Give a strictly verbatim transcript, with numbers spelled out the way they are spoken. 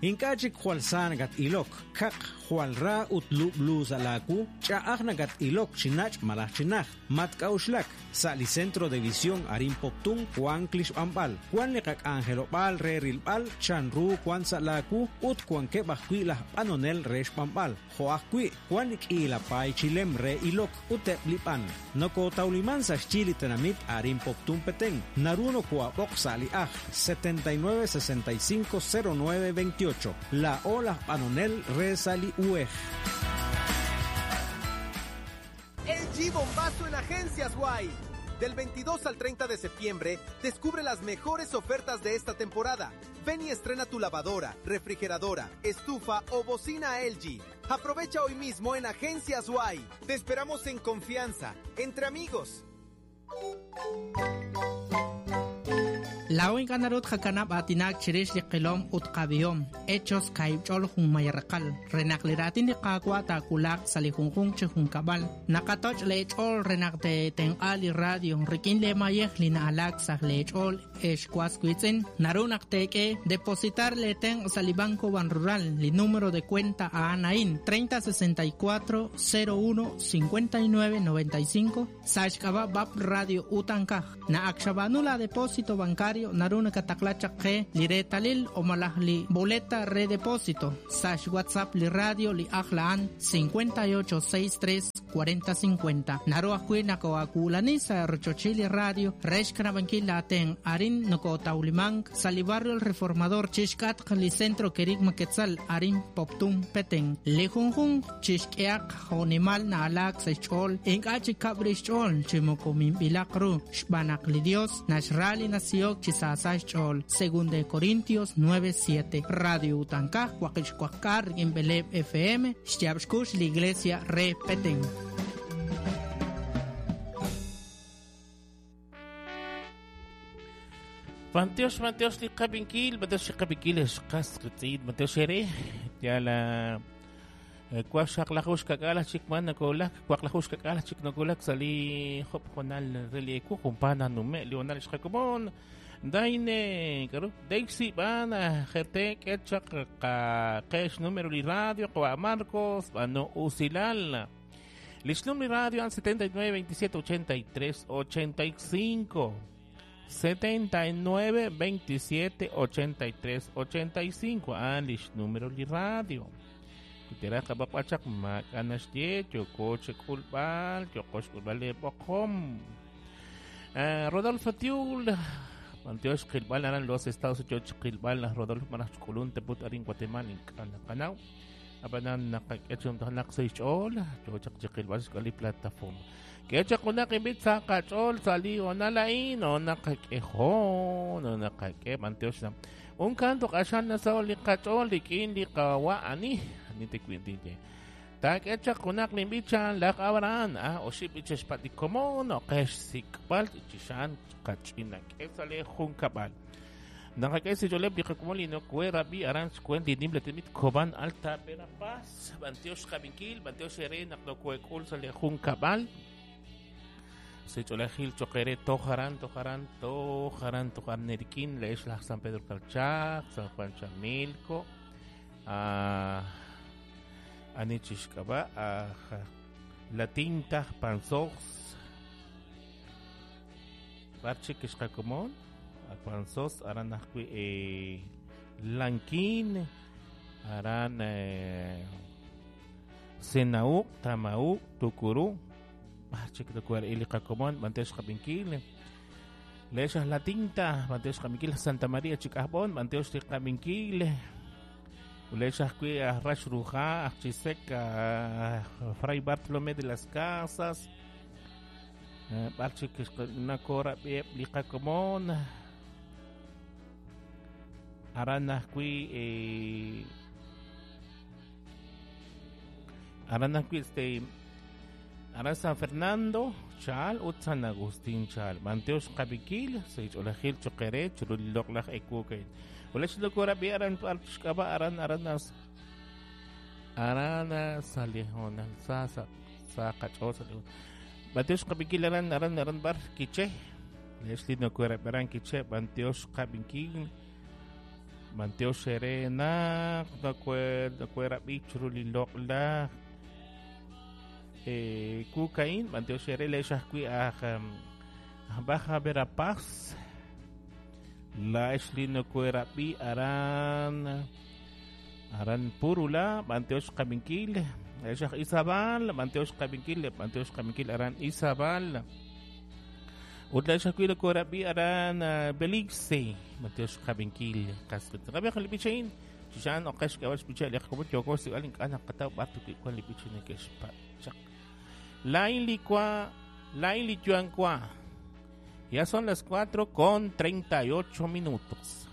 Ink'a' chik jwal sa nakat-ilok, kaq, jwal ra ut lub'lu sa' laawu, ch'a'aj nakat-ilok chi nach' malaj chi najt, matk'a'uxlak. Sa' li Centro de Visión arin Poptún wank li xb'anb'al, wan li qak'anjelob'aal re rilb'al chanru wan sa' laawu ut wankeb' ajwi' laj b'anonel re xb'anb'al, jo' ajwi' wan li k'iila paay chilem re ilok ut eb' li b'an. Nokotawliman sa' xyi li tenamit arin Poptún Petén, naru nokoab'oq sa' li ajl setenta y nueve sesenta y cinco cero nueve veintiocho. La ola b'anonel re sa' li U E J. L G Bombazo en Agencias Y. Del veintidós al treinta de septiembre, descubre las mejores ofertas de esta temporada. Ven y estrena tu lavadora, refrigeradora, estufa o bocina L G. Aprovecha hoy mismo en Agencias Y. Te esperamos en confianza, entre amigos. Law ink'a' naru tqakanab' aatinak chirix li qilom ut qab'ihom, hechos kaib' ch'ol jun mayaraqal, re naq li raatin li Qaawa' taawulaq sa' li junjunq chi junkab'al. Naqatoch' leech'ool re naq teetenq'a li radio rik'in leemayej li na'alaak sa' leech'ool ex was wiitz'in. Naru naq teek'e depositar leetenq' sa' li Banco Banrural, li número de cuenta a'an a'in, treinta sesenta y cuatro cero uno cincuenta y nueve noventa y cinco, sa' xk'ab'a' B A P Radio Utankaj. Na'ak xab'aanu la depósito bancario naru nakataqla chaq qe li reetalil o malaj li boleta re depósito sa' WhatsApp li radio li ajl a'an cincuenta y ocho seis tres cuarenta cincuenta. Naru ajwi' nakoakulani sa' rochochil li radio re xkanab'ankil laaten arin nokotawlimank sa' li barrio El Reformador chixk'atq li centro Kerigma Quetzal arin Poptún Petén. Li junjunq chixk'ehaq jo'nimal na'alaak sa' xch'ool ink'a' chikab' rix xch'ool chi moko minb'ilaq ru xb'aan naq li Dios naxra li nasihok chi saasa xch'ool. Segunda de Corintios nueve siete. Radio Utankaj, Huaqixcuacar, rik'in Beleb F M, xyaab' xkux li Iglesia re Petén. Manteos, manteos li qabinkil, manteos li qabinkil xqas qitsid, manteos ere, ya la kwaq xaqlajush kak'ala chik man nakolak, kwaqlajush kak'ala chik nakolak sali hop jonal relieku jumpana nume leonal xqakomon. Daine, karo, Dexi bana, G T, Ketchak, ka, Kesh, número li radio, Koa Marcos, Bano Usilal. Lishnum li radio al setenta y nueve, veintisiete, ochenta y tres, ochenta y cinco. setenta y nueve, veintisiete, ochenta y tres, ochenta y cinco. Ah, lish número li radio. Tira kabapachak makanashtie, yokoche kulbal, yokosh kulbal le bokom. Rodolfo Tiul. Manteos Qilbal aran los Estados Unidos Qilbal Rodolfo Manachkulun teput arin Guatemala in kanao abanan nakakechum tanak sa ichol chochak Qilbal skali plataforma kecha kunak imbit sa kachol sali onalain o nakakeho no nakake manteos na un kanto kashan na sa oli kachol likin li kawa ani ani te kwintinte tak echa kunak limbichan lak awaran ah o ship iches patikomon o kesh sikbal ichishan kachina kesale junkabal nakakesi joleb dikakumoli no kuera bi aran skwenti nimble temit koban alta Verapaz banteos kabinkil banteos ere nakno kuekul sale junkabal se cholajil choquere tojaran tojaran tojaran tojaran nerikin lees la San Pedro Calchac San Juan Chamilco ah Anichishkaba, La Tinta, Panzos, Barche Kishkakomon, Panzos, Aran eh, Lanquín, Aran eh, Senaú, Tamaú, Tucurú, Barche Kitukuar Ilikakomon, Mantesh Kabinkil, Leshas La Tinta, Mantesh Kabinkil, Santa María Chicabón, Mantesh Kabinkil. Ulechas a Rash Ruja, a Chisek, a Fray Bartolomé de las Casas, Barche Nakora, Licakomon, Aranakui, Aranakui, este, Aran San Fernando, Chal, ut San Agustín Chal, Manteos Kabikil, Seich Olajil, Choquere, Churulok, Ekuke. Wala siya ko rabi aran kaba aran aran nas aran salihon sa sa sa kacho sa Banteos kabikil aran aran aran bar kiche Leslie no ko rabi aran kiche Banteos kabikil B'antiox ere naq nakuerab'i chiru li loq'laj eh, kukain b'antiox ere le'x ajwi' aj aj Baja Verapaz la'ex li nakuerab'i aran aran Purula b'antiox qabinkil le'x aj Izabal b'antiox qabinkil b'antiox qabinkil aran Izabal ut le'x ajwi' nakuerab'i aran Belice b'antiox qabinkil qas qab'ij li b'ichain chixan oqex k'awal xb'icha li qkomon yoko sib'al ink'a' naqataw b'ar tuk'i wan li b'ich neke'xpachaq Lain licua, lain lichuancua. Ya son las cuatro con treinta y ocho minutos.